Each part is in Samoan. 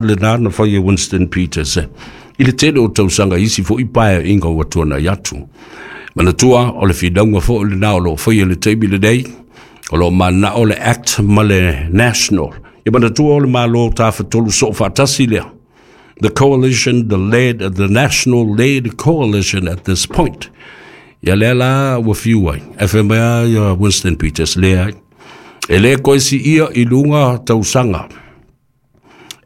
Lena na fai e Winston Peters i le tele o tausaga i isi foi paeaiga ua tuanai atu. Manatua o le finauga foi lena o lo o faia i le taimi lenei, o lo o mananao le Act ma le National. Ia manatua o le Malo Tafatolu Soofaatasi lea. The coalition, the led, the national led coalition at this point. Ia lea la ua fiu ai, ae fai mai lava ia Winston Peters, leai, e le toe siia i luga tausaga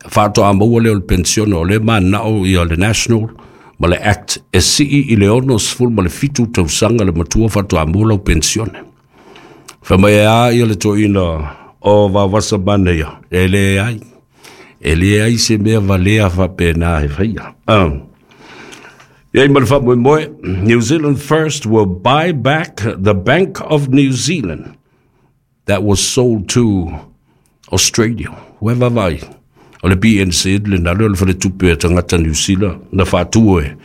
faatoa maua lea o le penisione, o lea e mananao ia le National ma le Act e sii i le 67 tausaga le matua faatoa maua lau penisione. Fai mai e a ia le toeaina o Vaovasa Manaia, e leai, e leai se mea valea faapena e faia. Ia i ma le faamoemoe, New Zealand First will buy back the Bank of New Zealand that was sold to Australia. Ua vaavaai, o le BNZ lena lea o le faletupe a tagata Niu Sila na faatu e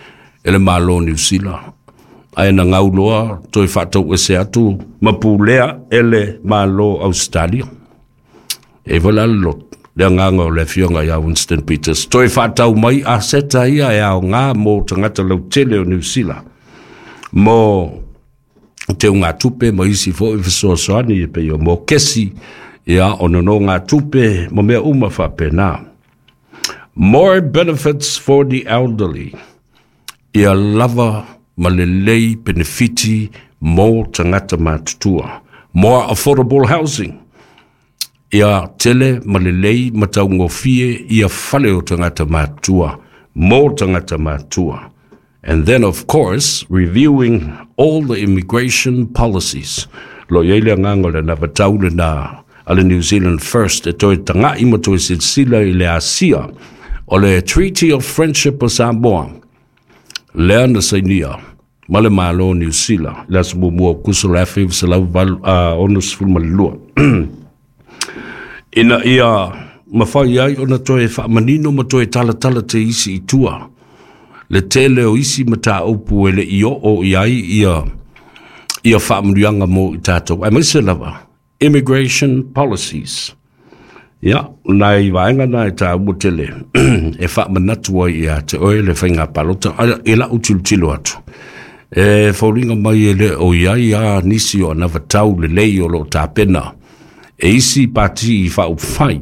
le Malo o Niu Sila. Ae na gau loa toe faatauese atu ma pulea e le Malo o Ausetalia. E foi la le loto, le agaga o le afioga ia Winston Peters, toe faatau mai aseta ia e aoga mo tagata lautele o Niu Sila mo teugatupe ma isi foi fesoasoani e pei o mokesi, ia, o nonogatupe ma mea uma faapena. More benefits for the elderly. Ia lava ma lelei penefiti mo tagata matutua. More affordable housing. Ia tele ma lelei ma taugofie ia fale o tagata matutua mo tagata matutua. And then, of course, reviewing all the immigration policies. Lo i ai le agaga o le anavatau lena a le New Zealand First e toe taga'i ma toe silasila i le asia o le Treaty of Friendship o Samoa lea na sainia ma le Malo o Niu Sila i le aso 1 o Aokuso le 1962, ina ia mafai ai ona toe faamanino ma toe talatala te isi i tua le tele o isi mataupu e le i oo i ai ia faamanuiaga mo i tatou, aemaise lava immigration policies. Ia, nai vaega na e taua tele e faamanatu ai ia te oe le faiga palota. E lau tilotilo atu, e foliga mai e le o i ai a nisi o anavatau lelei o lo o tapena e isi pati faaupufai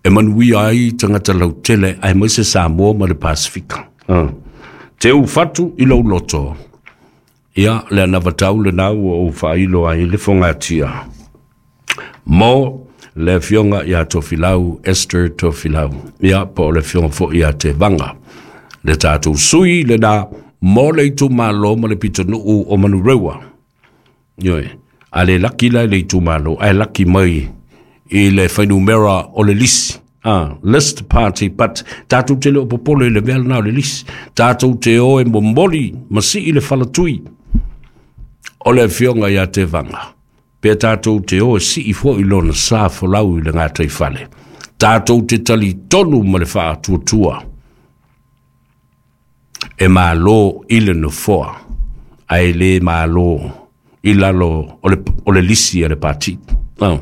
e manuia ai tagata lautele aemaise Samoa ma le Pasifika. Teu fatu i lou loto. Ia, le anavatau lena ua ou faailo ai le fogatia mo le afioga ia Tofilau Esther Tofilau, ia, po o le afioga foi ia Tevaga, le tatou sui lena mo le itumalo ma le pitonuu o Manurewa. Ioe, a le laki la i le itumalo, ae laki mai i le fuainumera o le lisi. List party, but tatou te le o popole i le mea lena o le lisi. Tatou te o e momoli ma sii le falatui o le afioga ia Tevaga. Pe tatou te o e sii foi lona sa folau i le gataifale. Tatou te talitonu ma le faatuatua e malo i le nofoa, ae le malo i lalo o le lisi a le pati. Oh,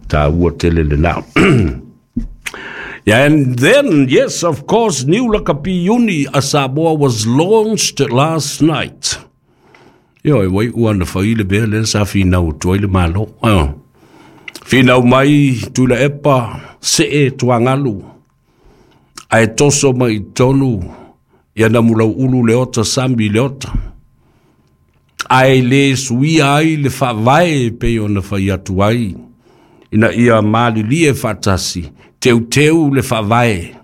taua tele lena. And then, yes, of course, New Lakapi Uni a Samoa was launched last night. Ioe, wai ua na fai le mea lea sa finau atu ai le Malo. Oh. Finau mai Tuilaepa, see tuagalu, ae toso mai i tonu ia Namulauulu Leota Sami Leota. Ae le suia ai le faavae pei ona fai atu ai, ina ia malilie faatasi, teuteu le faavae,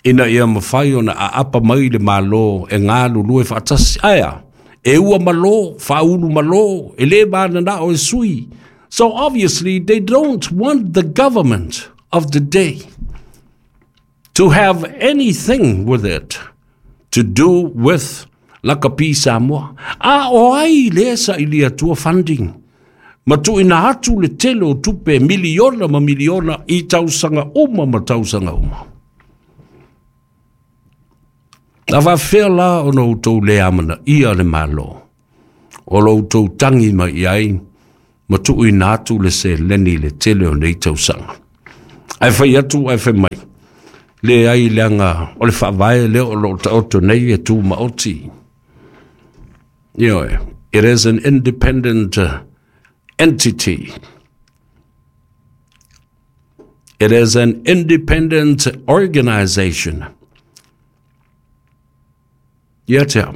ina ia mafai ona aapa mai le Malo e galulue faatasi. Ae a, e ua malo, faaulu malo, e lē mananao e sui. So obviously they don't want the government of the day to have anything with it to do with Lakapi Samoa. A o ai lea sailia atua funding ma tuuina atu le tele o tupe miliona ma miliona i tausaga uma ma tausaga uma? A faafefea la ona outou le amanaia le Malo o lo outou tagi mai i ai ma tuuina atu le seleni i le tele o nei tausaga? Ae fai atu ae fai mai, leai leaga o le faavae lea o lo o taoto nei e tumaoti. Ioe, it is an independent entity. It is an independent organization. Ia te au.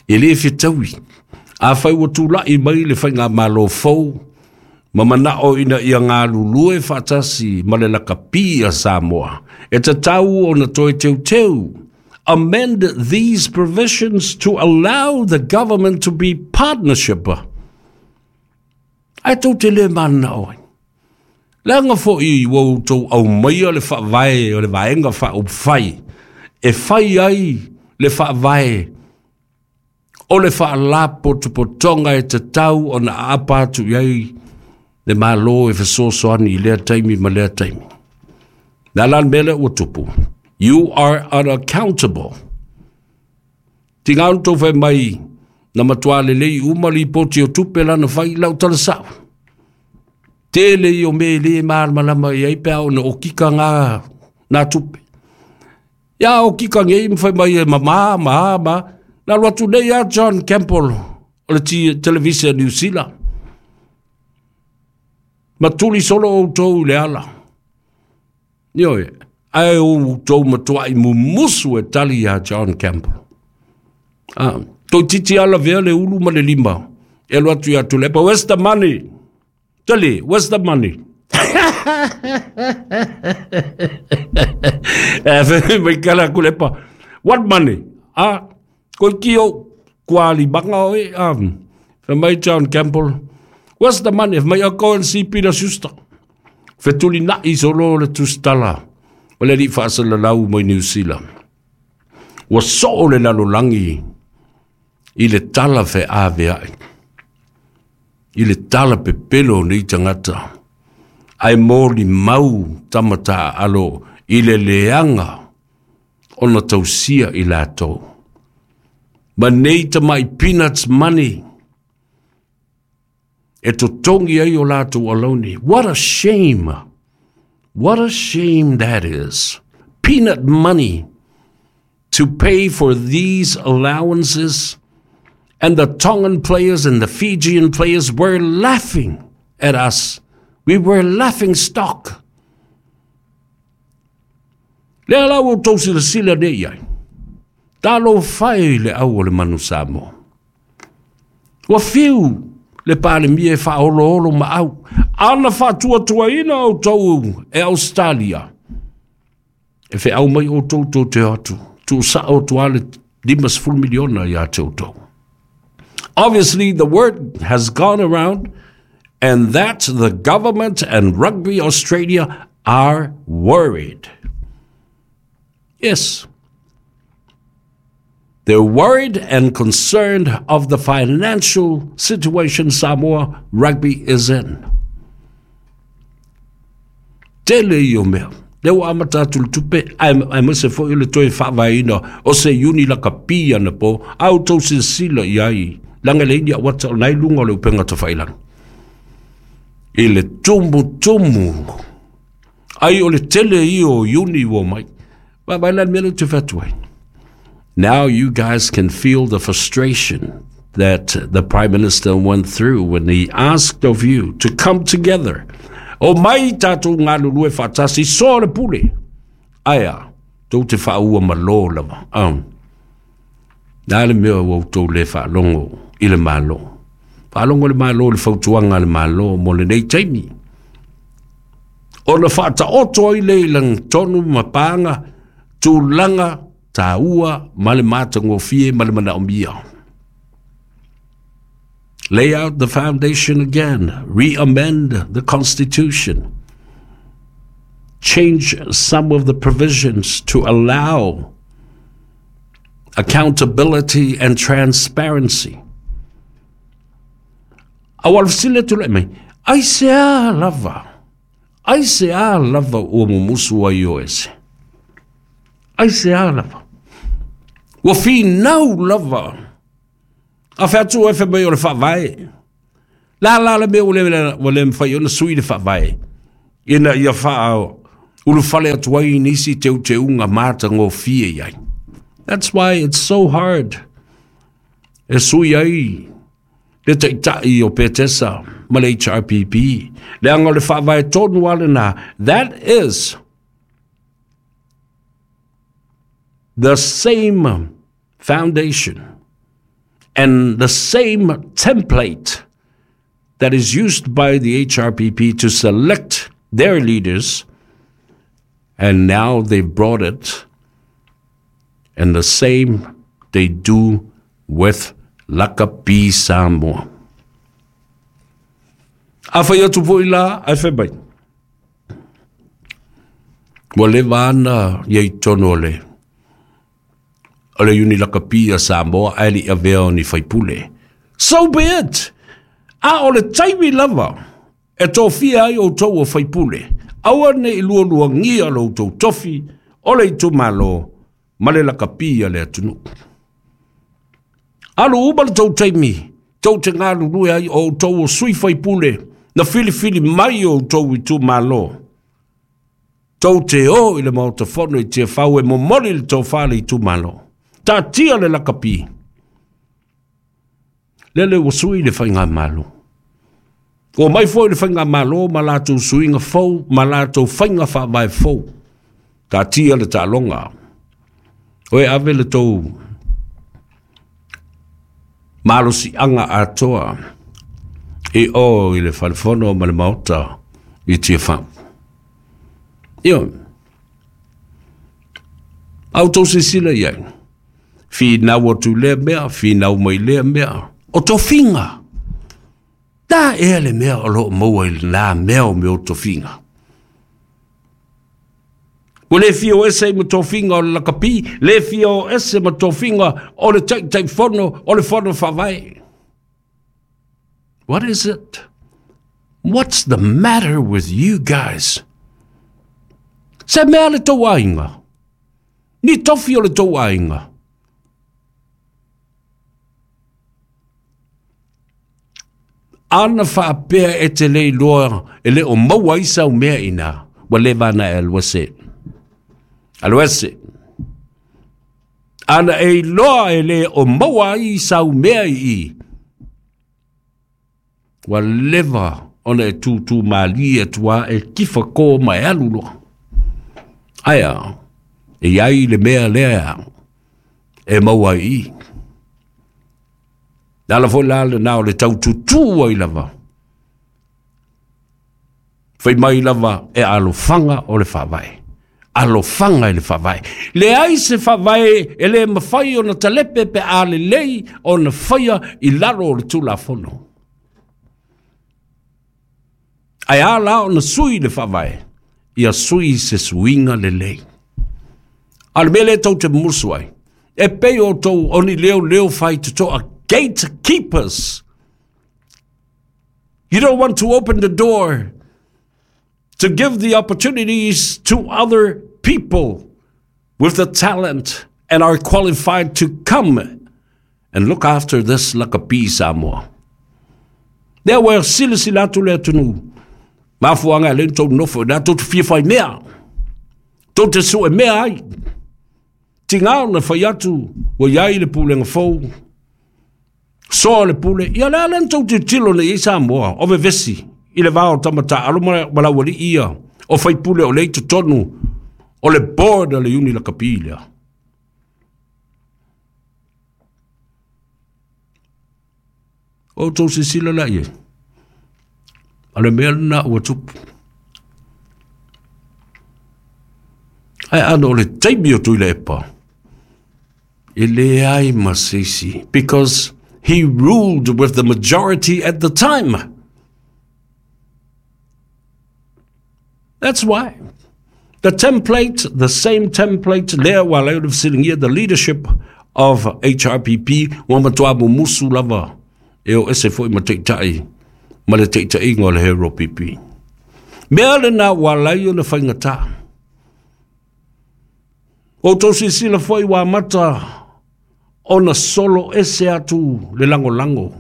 E le fetaui. Afai ua tulai mai le faigamalo fou ma manao ina ia galulue faatasi ma le lakapi a Samoa, e tatau ona toe teuteu. Amend these provisions to allow the government to be partnership. Ae tou te le mananao ai. Leaga foi ua outou aumaia le faavae o le Vaega Faaupufai e fai ai le faavae o le faalapotopotoga e tatau ona aapa atu i ai le Malo e fesoasoani i lea taimi ma lea taimi. Le a la le mea lea ua tupu? You are unaccountable. Tiga ona tou fai mai na matua lelei uma lipoti o tupe lana fai lau tala sao. Tele ia o mea e le malamalama i ai pe a ona okika ngā, nā tupe. Ia okika nei ma fai mai e mamā, ma, ma. Na alu atu nei a John Campbell o le televise a New Zealand. Ma tuli solo outou i le ala. Ioe, ae outou matuai mumusu e tali iā John Campbell. Ah, toeitiiti lava lavea le ulu ma le lima e alu atu ia Tuilaepa, where's the money? Tali, where's the money? E fai mai kala Tuilaepa, what money? Ah, koe ki o kua limaga oe, ah, fai mai John Campbell, where's the money? Fai mai, oh, go and see Peter Schuster. Fetulinai solo le tusitala o le alii faasalalau mai Niu Sila. Ua soo le lalolagi i le tala feaveai, i le tala pepelo o nei tagata, ae molimau tama taaalo i le leaga ona tausia i latou. Ma nei tamai peanuts money e totogi ai o latou alauni. What a shame! What a shame that is. Peanut money to pay for these allowances. And the Tongan players and the Fijian players were laughing at us. We were laughing stock. Lea la ua outou silasila nei i ai. Talofa e i le au o le manu Samoa. Ua fiu le Palemia e faaoloolo maau. Ana faatuatuaina outou e Australia. E feau mai outou tou te o atu. Tuusao atu lava le 50 miliona ia te outou. Obviously, the word has gone around and that the government and Rugby Australia are worried. Yes. They're worried and concerned of the financial situation Samoa Rugby is in. Tele ia o mea. Lea ua amata atu le tupe, aemaise foi o le toe faavaeina o se iuni lakapi anapo, a outou silasila i ai, leaga e leai ni auata o lena i luga o le upega tafailagi. I le tumutumu ai o le tele ia o iuni ua omai. Vaavaai la le mea lea ou te fai atu ai. Now you guys can feel the frustration that the Prime Minister went through when he asked of you to come together. O mai tātou galulue faatasi, soa le pule. Ae a, tou te faaua malō lava. Um. Na le mea ua outou le faalogo i le Malo. Faalogo le Malo i le fautuaga a le Malo mo lenei taimi. Ona faataoto ai lea i lagitonu ma paga, tulaga taua ma le matagofie ma le manaomia. Lay out the foundation again, re-amend the constitution, change some of the provisions to allow accountability and transparency. Aua o le fesili e tulai mai, aisea lava, aisea lava ua mumusu ai o ese? Aisea lava? Ua finau lava. A fai atu oe fai mai o le faavae. La la le mea ua le, ua le mafai ona sui le faavae. Ina ia faaulufale atu ai nisi teuteuga matagofie i ai. That's why it's so hard e sui ai le taitai o Petesa ma le HRPP. Leaga o le faavae tonu lava lena. That is the same foundation and the same template that is used by the HRPP to select their leaders, and now they've brought it, and the same they do with Lakapi Samoa. A fai atu foi la, ae fai mai. Ua leva ana ia i tonu o le o le Iuni Lakapi a Samoa ae le i avea o ni faipule. So be it! A o le taimi lava e tofia ai outou o faipule, aua ne i lualuagia lo outou tofi o le itumalo ma le lakapi a le atunuu. Alu uma le tou taimi, tou te galulue ai o outou o sui faipule na filifili mai o outou itumalo. Tou te o i le Maota Fono i Tiafau e momoli le tofa a le itumalo. Taatia le lakapi. Lele ua sui le faigamalo. Ua omai foi le faigamalo ma latou suiga fou ma latou faiga faavae fou. Taatia le taaloga. Oe ave le tou malosiaga atoa i o i le falefono ma le maota i Tiafau. Ioe. A outou silasila i ai, finau atu i lea mea, finau mai lea mea, o tofiga. Da ea le mea o lo o maua i lena mea o mea o tofiga. Ua le fia o ese ai ma tofiga o le lakapi, le fia o ese ma tofiga o le Taitaifono o le Fono Faavae. What is it? What's the matter with you guys? Se mea le tou aiga. Ni tofi o le tou aiga. Ana faapea e te le iloa e le o maua ai sau mea ina, ua leva ana e alu ese. Alu ese. Ana e iloa e le o maua ai sau mea i i, ua leva ona e tūtū mālie atu a e kifa kō ma e alu loa. Ae a, e i ai le mea lea e maua ai i. Le ala foi la lena o le tau tutū ai lava. Fai mai lava e alofaga o le faavae. Alofaga i le faavae. Leai se faavae e le mafai ona talepe pe a lelei ona faia i lalo o le Tulafono. Ae a la ona sui le faavae, ia sui se suiga lelei. A o le mea lea tou te musu ai, e pei outou o ni leoleo faitotoa, gatekeepers. You don't want to open the door to give the opportunities to other people with the talent and are qualified to come and look after this lakapi Samoa. Lea ua silasila atu le atunuu, mafuaaga e le tou nofo, na tou te fia fai mea, tou te sue mea ai. Tiga ona fai atu, ua i ai le pulega fou, soa le pule, ia le a lea na tou tilotilo nei i ai Samoa, o vevesi i le va o tama taaalo ma laualii ia, o faipule o lea i totonu o le board a le Iuni Lakapi lea. O outou silasila la i ai, o le mea lena ua tupu. Ae ana o le taimi o Tuilaepa, e leai ma se isi, because he ruled with the majority at the time. That's why. The template, the same template, lea ua ala ai ona fesiligia the leadership of HRPP, ua matua mumusu lava e o ese foi ma taitai ma le taitaiga o le HRPP. Mea lena ua ala ai ona faigata. Ua outou silasila foi ua amata ona solo ese atu le lagolago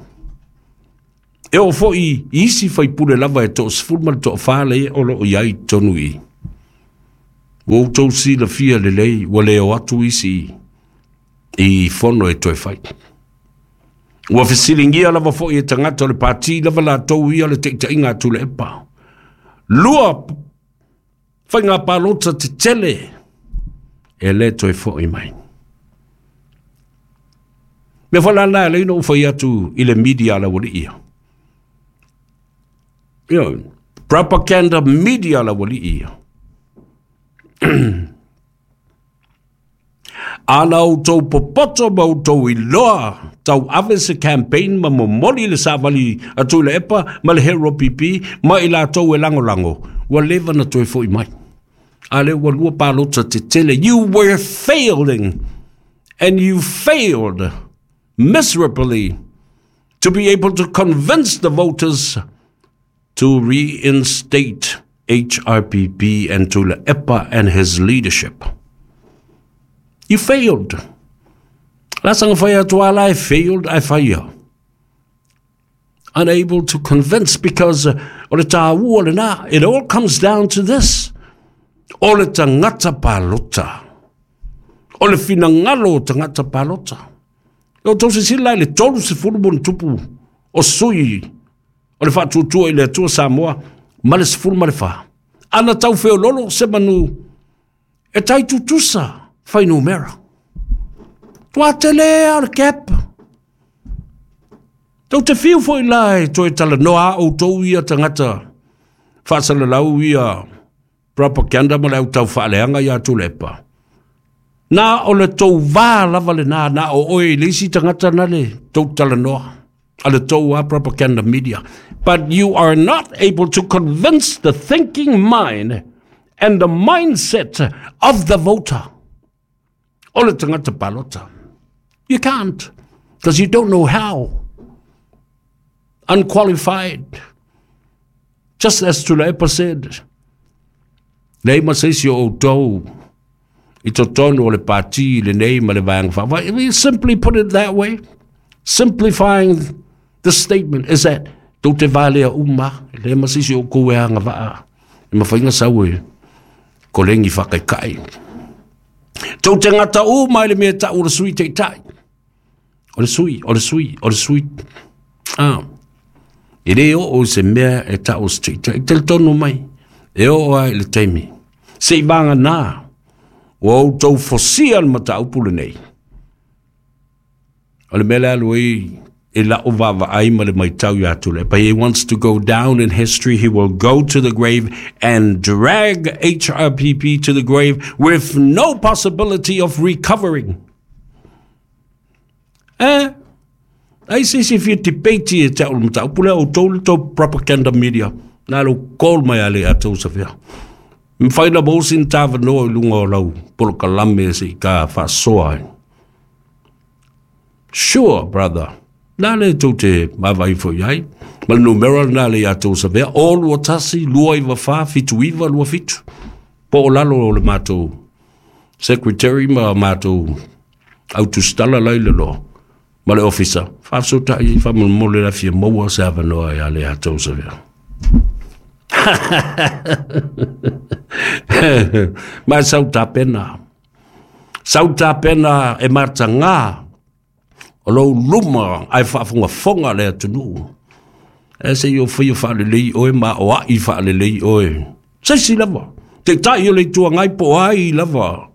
E oo foi i isi faipule lava e toasefulu ma le toafa lea o loo i ai i totonu i i. Ua outou silafia lelei ua le o atu isi i fono e toe fai. Ua fesiligia lava foi e tagata o le pati lava latou ia le taitaiga a Tuilaepa. Lua faiga palota tetele e le toe foi mai. Mea foi la lena e alai ona ou fai atu i le media a le aualii ia. Ioe, propaganda media a le aualii ia. Ana outou popoto ma outou iloa tauave se campaign ma momoli le savali a Tuilaepa ma le Hero PP ma i latou e lagolago, ua leva na toe foi mai. A lea ua lua palota tetele. You were failing and you failed miserably to be able to convince the voters to reinstate HRPP and Tuilaepa and his leadership. You failed. La sanga fai atu ala e failed ai fai. Unable to convince because o le tāua lena, it all comes down to this. O le tagata palota. O le finagalo o tagata palota. E outou silasila i le 30 ma ona tupu o sui o le Faatuatua i le Atua Samoa ma le 14. Ana tau feololo se manu e tai tutusa fuainumera. Tua tele a o le gap. Tou te fiu foi la e toe talanoa a outou ia tagata faasalalau ia propaganda ma le au tau faaleaga ia Tuilaepa. Na o le tou va lava lena, na o oe i le isi tagata na le tou talanoa a le tou a propaganda media. But you are not able to convince the thinking mind and the mindset of the voter. O le tagata palota. You can't, because you don't know how. Unqualified. Just as Tuilaepa said, leai ma se isi o outou i totonu o le pati lenei ma le vaega faavae. We simply put it that way. Simplifying the statement is that tou te valea uma, leai ma se isi o outou e agavaa e mafai ona sau e kolegi faakaikai. Tou te gata uma i le mea e tau o le sui taitai. O le sui, o le sui, o le sui. Ah. E le oo i se mea e tau o se taitai. Talitonu mai, e oo ai i le taimi. Se i vagana, ua outou fosia le mataupu lenei. O le mea le alu ai e la'u vaavaai ma le matau iā Tuilaepa. He wants to go down in history. He will go to the grave and drag HRPP to the grave with no possibility of recovering. Eh? Ai se isi fia debate e te au le mataupu lea outou le tou propaganda media. Na lou call mai a le atou safea. Mafai na maua sina tavanoa i luga o lau polokalame se i ka faasoa ai. Sure, brother. Na le tou te vaavaai foi ai. Ma le numera lena le ia tou savea. O 21 294 79 27. Po o lalo o le matou secretary ma matou autusitala lai le loa. Ma le ofisa. Faafesootai faamolemole la fia maua se avanoa ia le ia tou savea. Ma sau tapena. Sau tapena e matagā o lou luma ae faafogafoga le atunuu. E se i o faia faalelei oe ma o ai faalelei oe. Se isi lava. Taitai o le Itu Agai po o ai lava.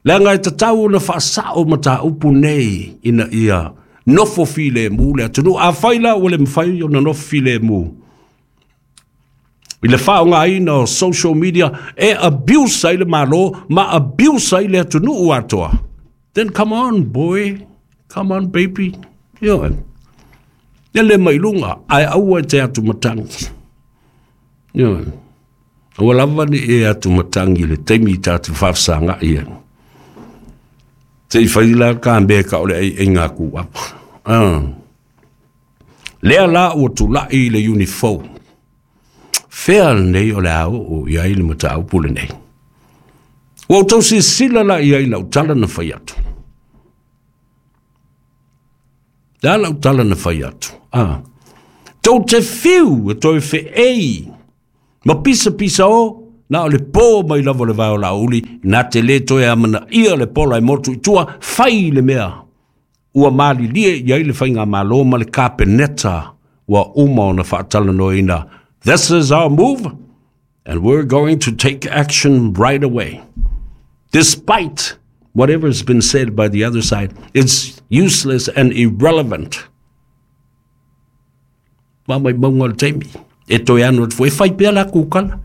Leaga e tatau ona faasao mataupu nei ina ia nofo filemu le atunuu. Afai la ua le mafai ona nofo filemu i le faaaogaina o social media e abuse ai le Malo ma abuse ai le atunuu atoa. Then come on, boy. Come on, baby. Ioe. Ia le mai luga, ae aua e te atu matangi. Ioe. Aua lava ne i e atu matangi i le taimi i tatou faafesagai ai. Se i fai la ka mea ka o le ai ngā ku apa. Ah. Lea la ua tulai i le unifou. Fea lenei o le a oo i ai le mataupu lenei. Ua outou silasila la i ai lau tala na fai atu. Le a lau tala na fai atu. Ah. Tou te fiu e toe feei ma pisapisao na o le po mai lava o le vae o Laauli, na te lē toe amanaia le pola e motu i tua, fai le mea ua malilie i ai le faigamalo ma le Kapeneta ua uma ona faatalanoaina. This is our move and we're going to take action right away. Despite whatever has been said by the other side, it's useless and irrelevant. Ma mai maunga o le taimi. E toe anu atu foi, e fai pea la kukala.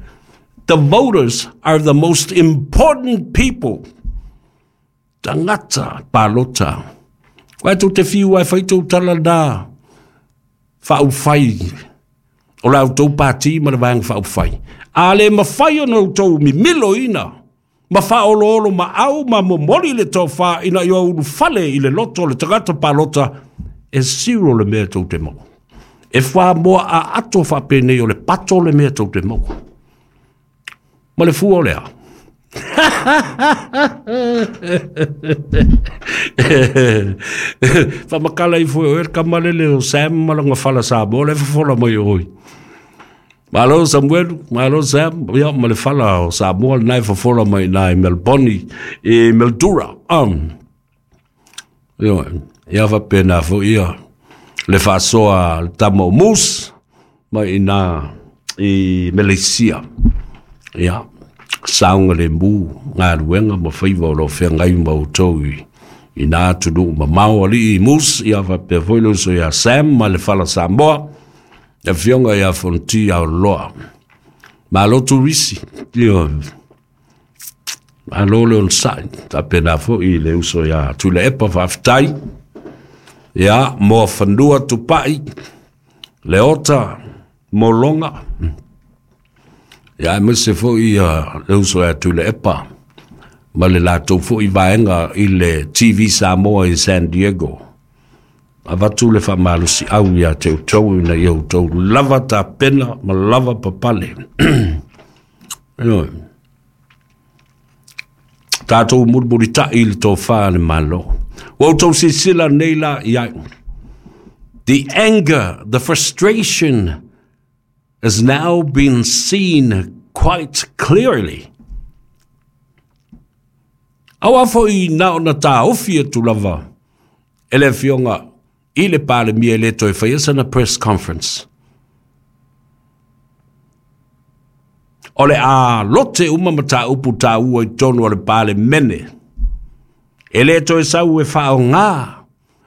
The voters are the most important people. Tagata palota. Koe tou te fiu ai fai tou tala na faaupufai o la outou pati ma le vaega faaupufai. A le mafai ona outou mimiloina ma faaoloolo maau ma momoli le tofa ina ia ulufale i le loto o le tagata palota, e zero le mea tou te maua. E fuamoa aato faapenei o le pato le mea tou te maua. Ma le fua o le a? Faamatala ifo e oe le tama lele o Sam ma lona fala Samoa la e fofola mai o oe. Malo Samuelu, malo Sam, ia ma le fala o Samoa lena e fofola mai i i Melbourne, i Mildura. Ioe, ia faapena foi ia le faasoa a le tama o Moose mai ina i Meleisia. Ia, saogalemu galuega ma faiva o lo o feagai ma outou i i na atunuu mamao alii Moose, ia faapea foi le uso ia Sam ma le fala Samoa, le afioga ia Fonoti Aoloa. Malo turisi, ioe. Malo le onosai, faapena foi le uso ia Tuilaepa, faafetai. Ia, Moafanua Tupai, Leota Mologa, ia aemaise foi ia le uso ia Tuilaepa ma le latou foi vaega i le TV Samoa i San Diego. Avatu le faamalosiau ia te outou ina ia outou lava tapena ma lava papale. Ioe. Tatou mulimulitai i le tofa a le Malo. Ua outou silasila nei la i ai. The anger, the frustration has now been seen quite clearly. Aua foi na ona taofi atu lava e le afioga i le Palemia e le toe faia sana press conference. O le a lote uma mataupu taua i totonu o le Palemene. E le toe sau e faaaoga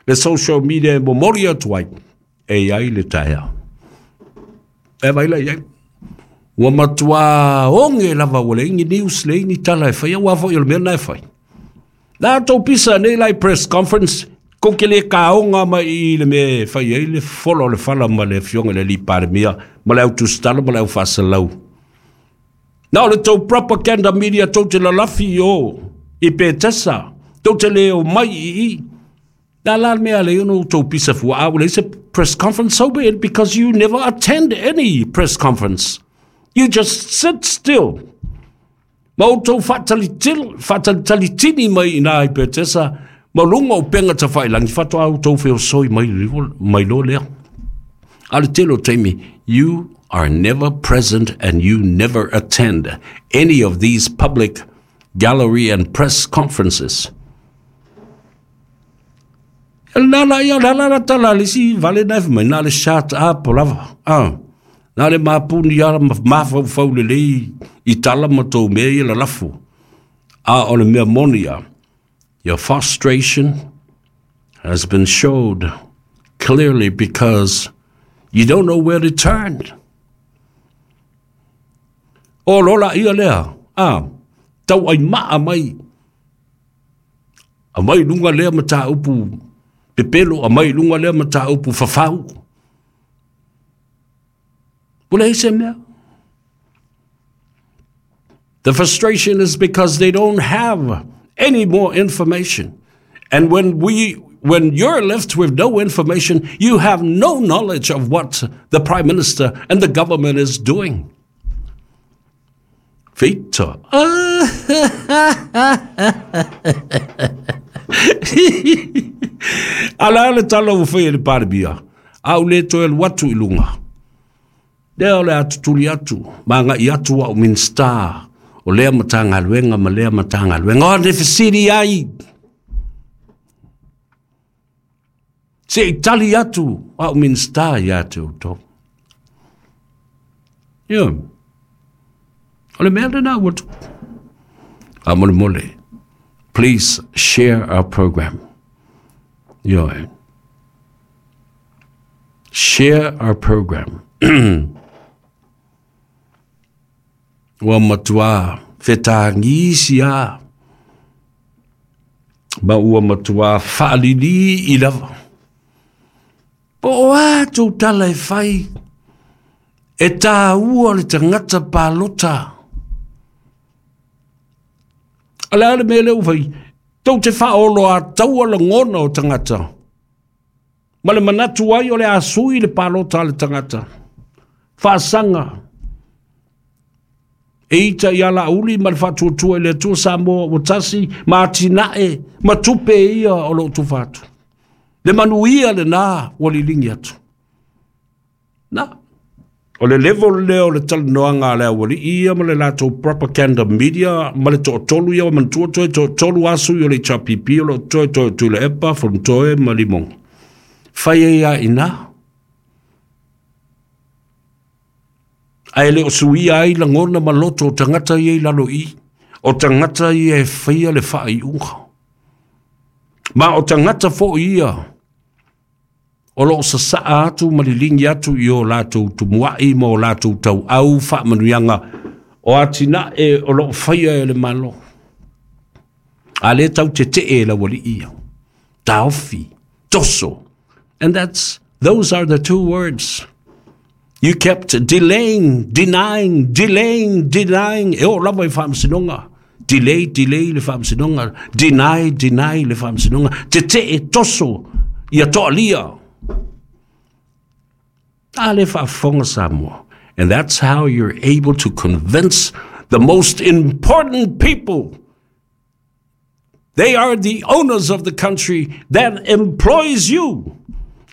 le social media e momoli atu ai, e i ai le taeao. E vai la i ai. Ua matua oge lava ua leai ni news, leai ni tala e faia, aua foi o le mea lena e fai. Na tou pisa nei la i press conference, kou te le kaoga mai i le mea e fai ai le fola o le fala ma le afioga i le alii Palemia ma le au tusitala ma le au faasalau. Na o le tou propaganda media tou te lalafi i o i Petesa, tou te le omai i i. Na la le mea lea ona outou pisa fua, a ua leai se press conference, so be it, because you never attend any press conference. You just sit still. Ma outou faatalitalitini mai i ina i Petesa ma luga o upega tafailagi, faatoa outou feosoi mai, mai loa lea. A o le tele o taimi, you are never present and you never attend any of these public gallery and press conferences. Na la ia la la la tala le isi vale na mai na le shut up lava. Ah. Na le mapuni ala ma mafaufau lelei i tala ma tou mea ia lalafo. A o le mea moni ia, your frustration has been showed clearly because you don't know where to turn. O lola ia lea, a, tau ai maa mai Aumai i luga lea mataupu pepelo, aumai i luga lea mataupu fafau. Ua leai se mea. The frustration is because they don't have any more information. And when we when you're left with no information, you have no knowledge of what the Prime Minister and the government is doing. Feita. A la le tala ua fai e le Palemia. A ou le toe alu atu i luga, lea o le a tutuli atu ma agai atu au Minisita o lea Matagaluega ma lea Matagaluega. O le fesili ai, se i tali atu au Minisita ia te outou. Ia, o le mea lena ua tupu. Faamolemole, please share our program. Ioe. Share our program. Ua matua fetagisi a ma ua matua faalilii lava. Po o a tou tala e fai, e tāua le tagata palota. O le a le mea lea ua fai? Tou te faaoloataua lagona o tagata ma le manatu ai o le a sui le palota a le tagata. Faasaga e ita ia Laauli ma le Faatuatua i le Atua Samoa ua tasi ma atinae ma tupe ia o lo o tufa atu. Le manuia lena ua liligi atu. Na, o le level lea o le talanoaga a le aualii ia ma le latou propaganda media ma le toatolu ia o manatua toe toatolu a sui o le HRPP o lo o toe toe Tuilaepa, Fonotoe ma Limoga. Fai ai a ina. Ae le o suia ai lagona ma loto o tagata ia i lalo i, o tagata ia e faia le faaiuga. Ma o tagata foi ia o lo o sasaa atu ma liligi atu i o latou tumuai ma o latou tauau faamanuiaga o atinae o lo o faia e le Malo. A lea tau tetee e le aualii ia. Taofi, toso. And those are the two words. You kept delaying, denying, delaying, denying. E oo lava i faamasinoga. Delay, delay le faamasinoga. Deny, deny le faamasinoga. Tetee, toso, ia toalia. A le faafofoga Samoa. And that's how you're able to convince the most important people. They are the owners of the country that employs you.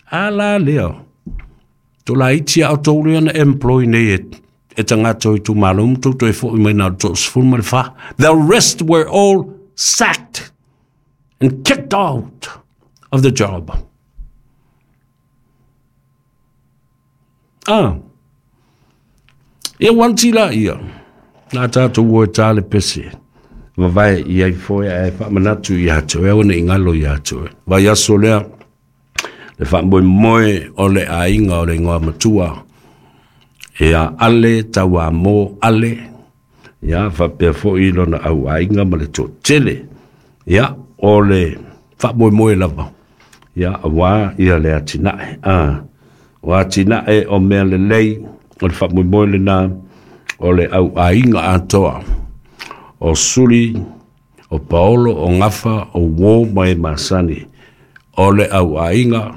A la lea. Tolaiti a outou lea na employ nei e tagata o itumalo ma tou toe foi mai na o le 34. The rest were all sacked and kicked out of the job. Ah. Ia wanti la ia. Nā tātou o e tā le pese. Vavae i ai foe ae faamanatu ia te oe, aua ne i galo ia te oe. Vaiaso lea, le faamoemoe o le aiga o le igoa matua, ia Ale Tauamo Ale, ia faapea foi lona auaiga ma le toatele. Ia, o le faamoemoe lava, ia auā ia le atinae. Ah, o atinae o mea lelei, o le faamoemoe lena, o le auaiga atoa, o Suli, o Paolo, o Gafa, o Uo ma e masani, o le auaiga,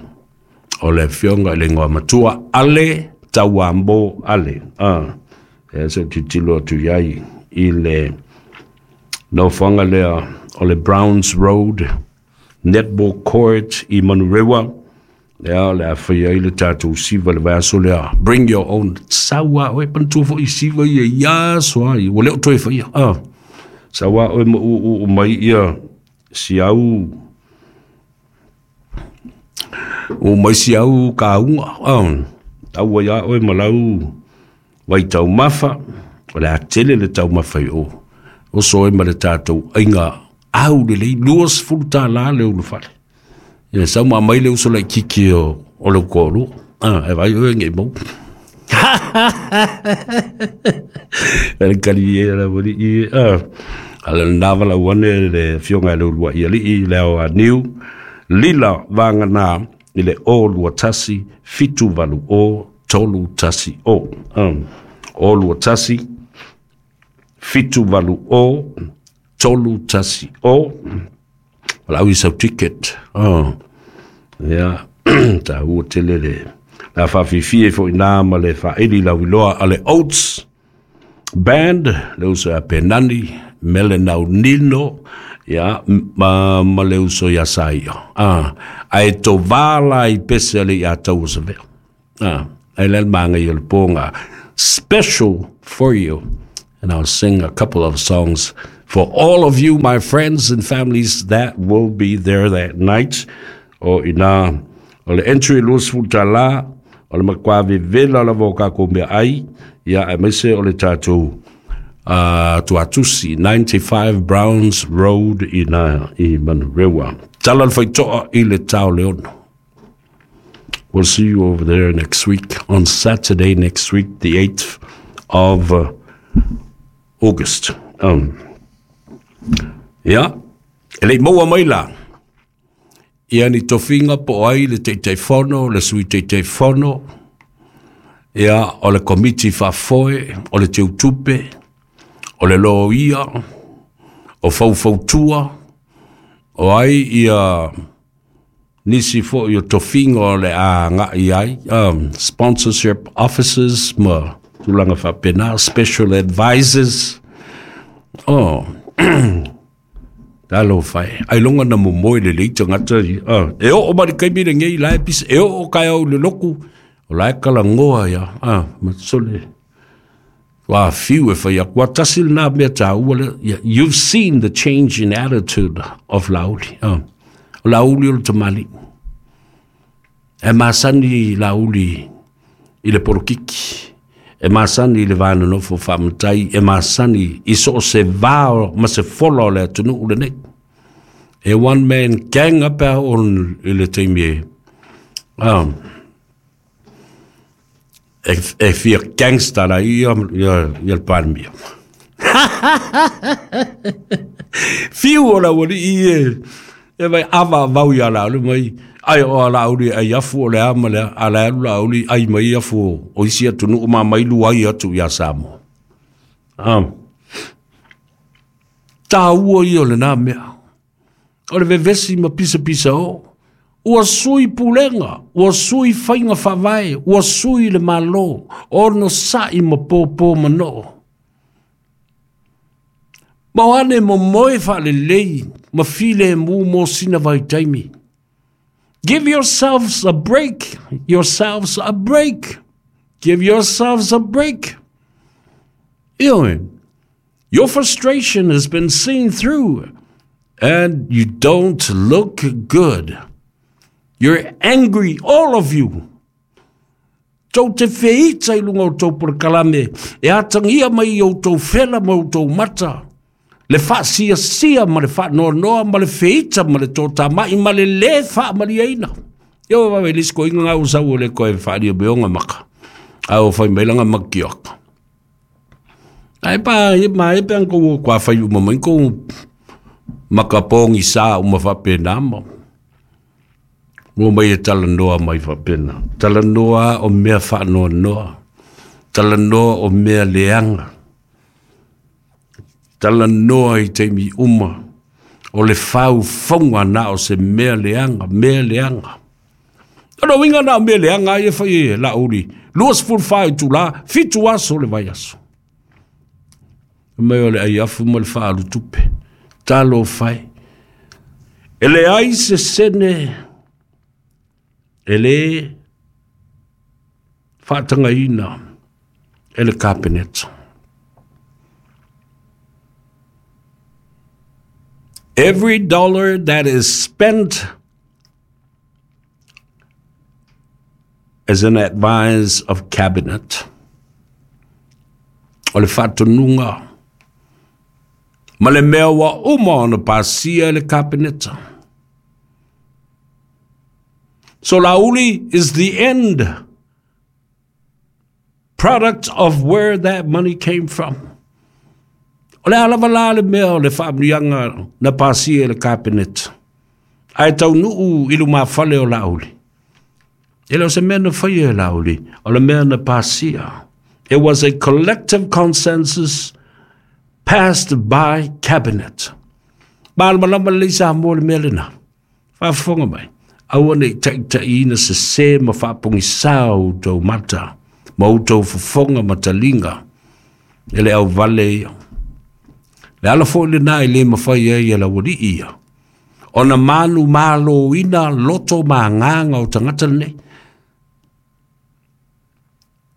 o le afioga i le igoa matua, Ale Tauamo Ale. Ah, e se tilotilo atu i ai i le nofoaga lea o le Browns Road Netball Court i Manurewa, lea o le a faia ai le tatou siva le vaiaso lea. Bring your own. Sau a oe, manatua foi siva ia i aso a ia, ua le o toe faia. Ah, sau a oe ma uu mai ia si au o mai si au kauga. Ah, tau ai a oe ma lau vai taumafa, o le a tele le taumafa i o. Oso oe ma le tatou aiga au lelei, $20 le ulufale. Ia sau ma mai le uso laitiiti o le toalua. Ah, e vai oe nei mau. Le kali e la wali i. Ah, ala nā wala uane le afioga i le uluai alii le ao a niu. Lila vāngana i le o lua tasi, 7 8 o, 3 1 o. O lua tasi, 7 8 o, 3 1 o. Wala au i sau ticket. Oh. Ia, tā ua tele le la whaafifia fo ina ma le whaeli lau iloa a le Oats Band, le uso a Penani, Mele Naunino, ia, ma le uso ia sa ia. Ae to vala i pese ale ia tau o Savea. Ai le manga i le ponga. Special for you. And I'll sing a couple of songs for all of you, my friends and families that will be there that night. O ina, o le entry $20, o le makwa vevela la voka ko mea ai, ia e mese o le tātou tuatusi, 95 Browns Road ina i Manurewa. Tala le whaitoa i le tau leono. We'll see you over there next week, on Saturday next week, the 8th of August. Ia, e lei maua mai la. Ia ni tofinga po ai le teiteifono, le sui teiteifono, ia o le komiti faafoe, o le teutupe, o le loia, o faufautua, o ai ia nisi fo i o tofinga o le a ngai ai, sponsorship officers, ma tulaga faapena, special advisors. Oh, talo fai. Ai longa na mo moi le leita ngata i. E o o mari kaimi le ngei lai pis, e o o kai au le loku, o lai kala ngoa ia. Matsole. Wa fiu e whai akua tasil nā mea tā ua le. You've seen the change in attitude of Lauli. Lauli o le tamali. E masani Lauli i le porokiki. E masani i le vānonofo whaamatai. E masani i so o se vāo ma se fola o le atunu ule nei. E one man gang up on i le teimi e. E fia gangsta la ia le palmia. Fiu o la wali i e vai ava vau ia la ulu mai. Ai o la uli ai afu o le ama le ala alu la uli ai mai afu o isi atu nu ma mai lu ai atu ia Samoa. Tā ua ia o le nā mea. O le vevesi ma pisa pisa o. Ua sui pulenga, ua sui whainga whavae, ua sui le malo, ono sa'i ma pōpō manoo. Ma oane mo moe wha le lei, ma file mu mo sina vai taimi. Give yourselves a break, yourselves a break. Give yourselves a break. Your frustration has been seen through and you don't look good. You're angry, all of you. Tau te wheita i lunga o tau porokalame, e atangia mai o tau whela ma o tau mata. Le wha sia ma le wha noa ma le wheita ma le tō mai ma le le wha ma li aina. Io wawe lisko inga ngau sau o le koe wha beonga maka. Au whai mailanga makiok. Ai pa, e ma e peang ko kwa whai uma mai ko makapongi sa uma whapena ma. Mo mai e talanoa mai whapena. Talanoa o mea wha noa. Talanoa o mea leanga. Talanoa i te mi uma. O le whau whaunga nā o se mea leanga, mea leanga. Ono winga nā o mea leanga ai e whai e la uri. Luas ful whai tu la, fitu aso le vai aso. Mai o le ai afu ma le whaalu tupe. Talo whai. E le ai se sene, e le whaatangaina e le kapeneta. Every dollar that is spent is an advice of cabinet. O le whaatanunga. Ma le mea wa uma ona pasia le kapeneta. So Lauli is the end product of where that money came from. O le alava la le mea o le whaamnianga na pasia le kapeneta. Ai tau nuu ilu mawhale o Lauli. E leo se mea na whaia e Lauli, o le mea na pasia. It was a collective consensus passed by cabinet. Malama le sa mo le mea lena. Whaafonga mai. Aua nei taitaina ina se se ma whaapongi sao tau mata. Ma u tau fufonga matalinga. E le au vale ia. Le ala fo'i lenā e lē mafai ai e le auali'i ia ona manumaloina loto ma agaga o tagata lenei.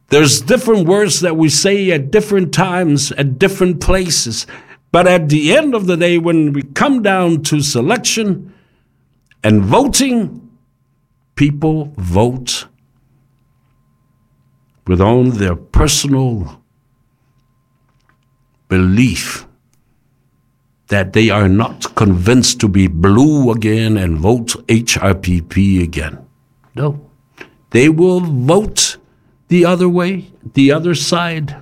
There's different words that we say at different times, at different places. But at the end of the day, when we come down to selection and voting, people vote with on their personal belief that they are not convinced to be blue again and vote HRPP again. No. They will vote the other way, the other side.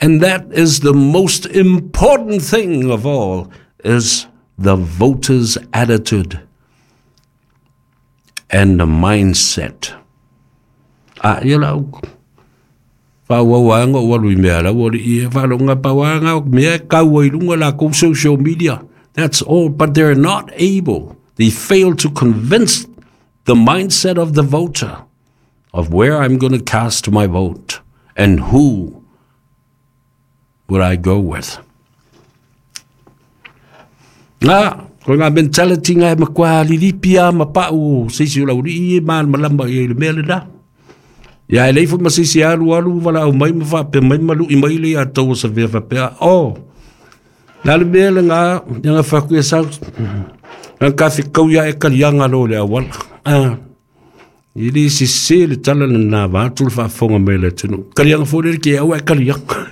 And that is the most important thing of all, is the voter's attitude and the mindset. A ia lau faaauau anga o alu i mea lau o i e whalonga pawanga o mea kaua i lunga la kou social media. That's all, but they're not able. They fail to convince the mindset of the voter of where I'm going to cast my vote and who would I go with. Ngā, ko ngā mentality ngā e makua lilipia ma pau se isi o lauri i e man malama i le mea le na. Ia e leifo ma se isi alu alu wala au mai ma whapea mai malu i mai le a tau sa vea whapea. Oh, nā le mea le ngā, ngā whaku e sau, ngā ka kau ia e kalianga lo le awala. Ah, i le se se le tala le nā vātu le whaafonga mai le tunu. Kalianga fō le ke au e kalianga.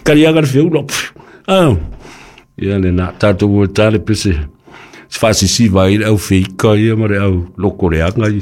Kalianga le whiulo. Ah, ia le nā tātou ua tale pese. Se whaasisi vai le au whika ia ma le au loko le anga i.